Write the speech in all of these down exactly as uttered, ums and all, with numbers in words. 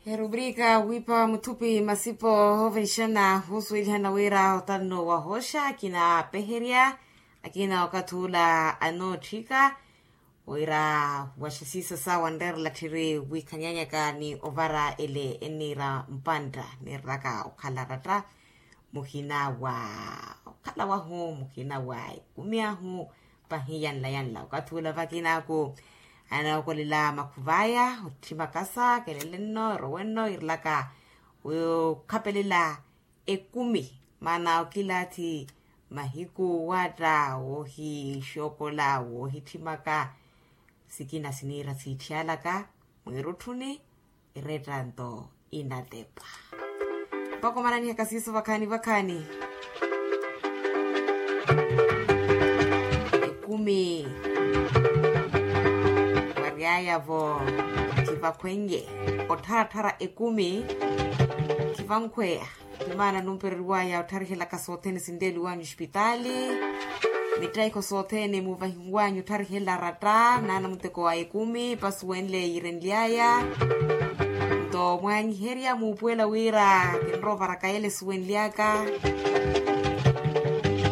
Erubrika wiipa muthupi masipo ovenxana wusuwelihana wira otanno wahooxa akina apeherya akina okathi ula anootthika wira waxisiisa sawa nreerela tthiri wiikhanyanyaka ni ovara ele enniira mpantta niirelaka okhala ratta muhina wa okhala wahu muhina wa ekumi ahu pahi yanla yanla okathi ula vakinaku anookolela makhuvaya otthimakasa kelele-nno erowe-nno iirelaka wi okhapelela ekumi maana okilaathi mahiku waatta woohixookola woohitthimaka sikina siniira siitthyalaka mwiirutthuni erettanto inatepa mpaka omananihaka siiso vakhaani vakhaani ekumi waryaya-vo khivakhwenye ottharathara ekumi khivankhweya ni maana numpereriwaya ottharihelaka sothene sinleeliwanyu ospitaali mitteekho sothene muvahiwanyu ottharihelela ratta naana muteko wa ekumi pasuwenle yiirenlyaya nto mwaanyiherya muupuwela wira kinrovaraka yele esuwenlyaka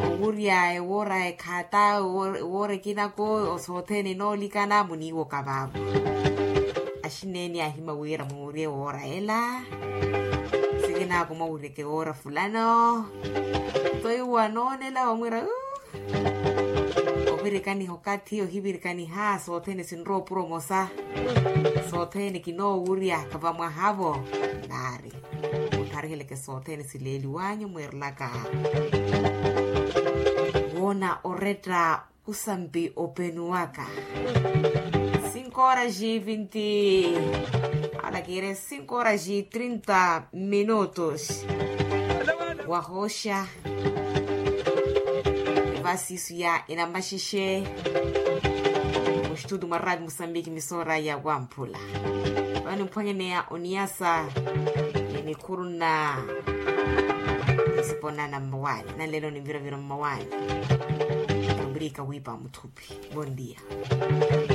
owurya ewoora ekhata ewoora ekinako sothene enoolikana muniiwoka vaavo axineeni aahima wira muurye woora ela sikinaaku mwawiryeke woora fulano nto iwo anoonela wamwiira ovirikaniha okathi ohivirikaniha sothene sinrowa opuro omosa sothene kinoowurya kavamwahavo naari muthariheleke sothene sileeliwanyu mwiirelaka woona oretta kusampi openuwaka cinco horas e vinte ala kiire cinco horas e trinta minutos wahooxa evasiisu ya enamaxexe oxitutu mwa raati musambiki misoora ya wamphula vano mphwanyaneya oniyasa ni nikhuru nna nisipo nana mmawaani nanlelo ni mviravira mmawaani ombirika wiipa muthupi bondia